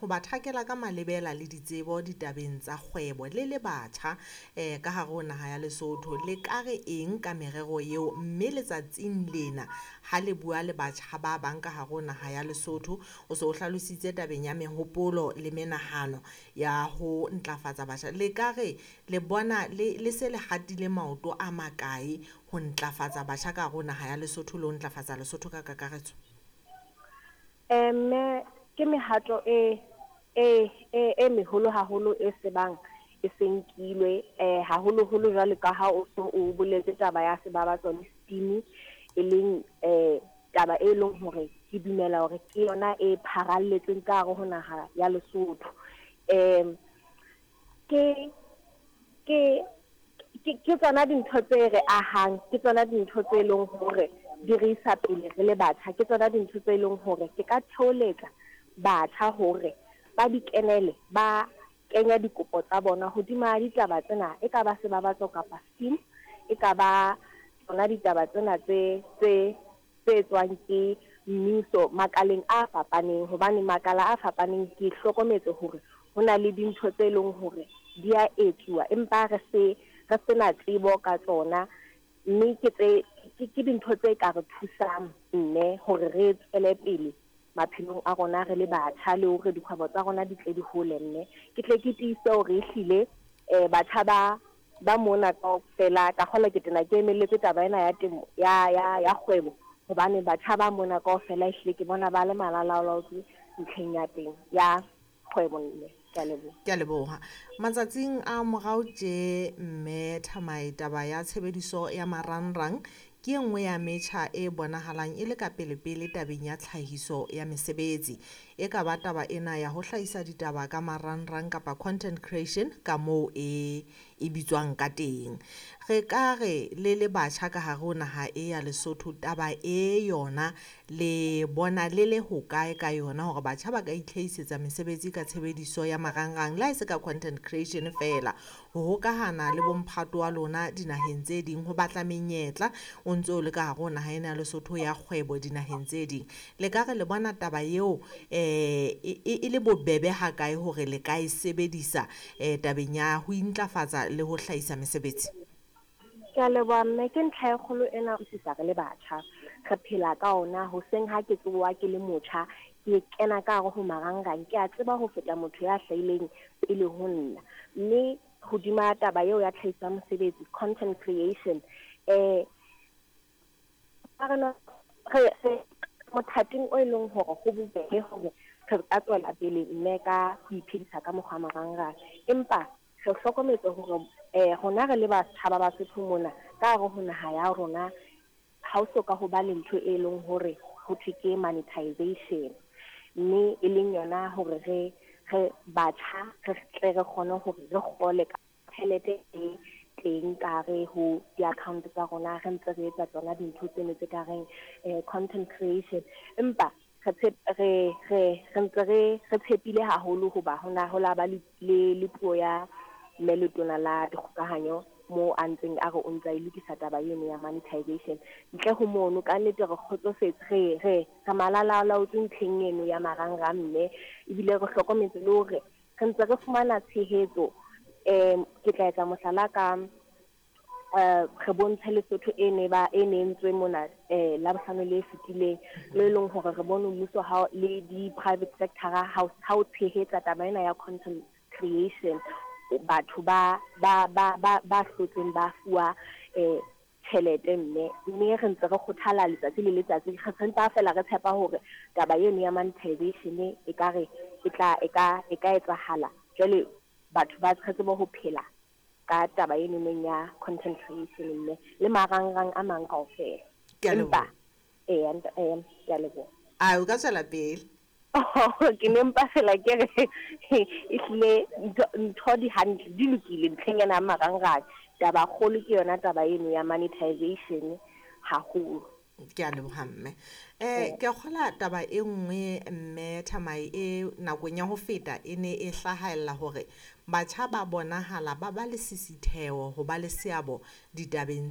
ho ba thakela ka malebela le ditsebo ditabeng tsa kgwebo le le batjha ka hare ho naha ya Lesotho. Le ka re eng ka merero eo, mme letsatsing lena ha le bua le batjha ba bang ka hare ho naha ya Lesotho, o se o hlalositse tabeng ya mehopolo le menahano ya ho ntlafatsa batjha. Le ka re le bona le se le hatile maoto a makae ho ntlafatsa batjha ka hare ho naha ya Lesotho le ho ntlafatsa Lesotho ka kakaretso? Mme ke mehato e meholo haholo e sebang e senkilwe, haholoholo jwale ka ha o so o boletse taba ya Sebabatso le STEAM, e leng taba e leng hore ke dumela hore ke yona e pharalletseng ka hare ho naha ya Lesotho. Ke tsona dintho tse re ahang, ke tsona dintho tse leng hore di re isa pele re le batjha, ke tsona dintho tse leng hore ke ka theoletsa batjha hore ba di kenele, ba kenya dikopo tsa bona hodima ditaba tsena, e ka ba Sebabatso kapa STEAM, e ka ba tsona ditaba tsena tse tswang ke mmuso makaleng a fapaneng, hobane makala a fapaneng ke hlokometse hore ho na le dintho tse leng hore di a etsuwa empa re sena tsebo ka tsona, mme ke dintho tse ka re thusang mme hore re tswele pele maphelong a rona re le batjha, le hore dikgwebo tsa rona di tle di hole. Mme ke tle ke tiise hore ehlile batjha ba mona kaofela, ka kgolwa ke tena ke emelletse taba ena ya temo ya kgwebo, hobane batjha ba mona kaofela ehlile ke bona ba le malalaolaotswe ntlheng ya teng ya kgwebo. Mme ke a leboha. Ke a leboha. Matsatsing a morao tje, mme Thamae, taba ya tshebediso ya marangrang ke e nngwe ya metjha e bonahalang e le ka pelepele tabeng ya tlhahiso ya mesebetsi. E ka ba taba ena ya ho hlahisa ditaba ka marangrang kapa content creation ka moo e bitswang ka teng. Re ka re le le batjha ka hare ho naha e ya Lesotho, taba e yona le bona le le hokae ka yona hore batjha ba ka itlhahisetsa mesebetsi ka tshebediso ya marangrang, le ha e se ka content creation feela, ho hokahana le bomphato wa lona dinaheng tse ding, ho batla menyetla o ntse o le ka hare ho naha ena ya Lesotho ya kgwebo dinaheng tse ding. Le ka re le bona taba eo e le bobebe hakae hore le ka e sebedisa tabeng ya ho intlafatsa le ho hlahisa mesebetsi? Ke a leboha mme, ke ntlha e kgolo ena utlwisisa re le batjha re phela ka ona. Hoseng ha ke tsoha ke le motjha, ke kena ka hare ho marangrang, ke a tseba ho feta motho ya hlahileng pele ho nna. Mme hodima taba eo ya tlhahiso ya mosebetsi, content creation, re mothating o e leng hore ho bobebe hore re ka tswela pele mme ka ho iphedisa ka mokgwa marangrang, empa re hlokometse hore rona re le batjha ba Basotho mona ka hare ho naha ya rona, ha o soka ho ba le ntho e leng hore ho thwe ke monetization, mme e leng yona hore re batjha re tle re kgone hore re kgole ka tjhelete e teng ka hare ho di-account tsa rona, re ntse re etsa tsona dintho tseno tse ka reng content creation. Empa re ntse re tshepile haholo hoba hona ho la ba le puo ya mme letona la dikgokahanyo mo a ntseng a re o ntsa e lokisa taba eno ya monetization. Ntle ho mono ka nnete re kgotsofetse, re malalaolaotswe ntlheng eno ya marangrang, mme ebile re hlokometse le hore re ntse re fumana tshehetso. Ke tla etsa mohlala ka re bontshe Lesotho e ne entswe mona Labohlano le fetileng, le leng hore re bone mmuso ha le di-private sector ha o tshehetsa taba ena ya content creation, batho ba hlotseng ba fuwa tjhelete. Mme re ntse re kgothala letsatsi le letsatsi, re sentse fela re tshepa hore taba eno ya monetization e ka re e ka etsahala, jwale batho ba re tsebe ho phela ka taba eno neng ya content creation mme le marangrang a mang kaofela. Empa ke a leboha. A o ka tswela pele? Ke ne mpa fela ke re ehlile ntho di hantle, di lokile ntlheng ena ya marangrang. Taba kgolo ke yona taba eno ya monetization haholo. Ke a leboha mme. Ke kgola taba e nngwe mme Thamae e nakong ya ho feta e ne e hlahella hore batjha ba bonahala ba ba le sisitheo ho ba le seabo ditabeng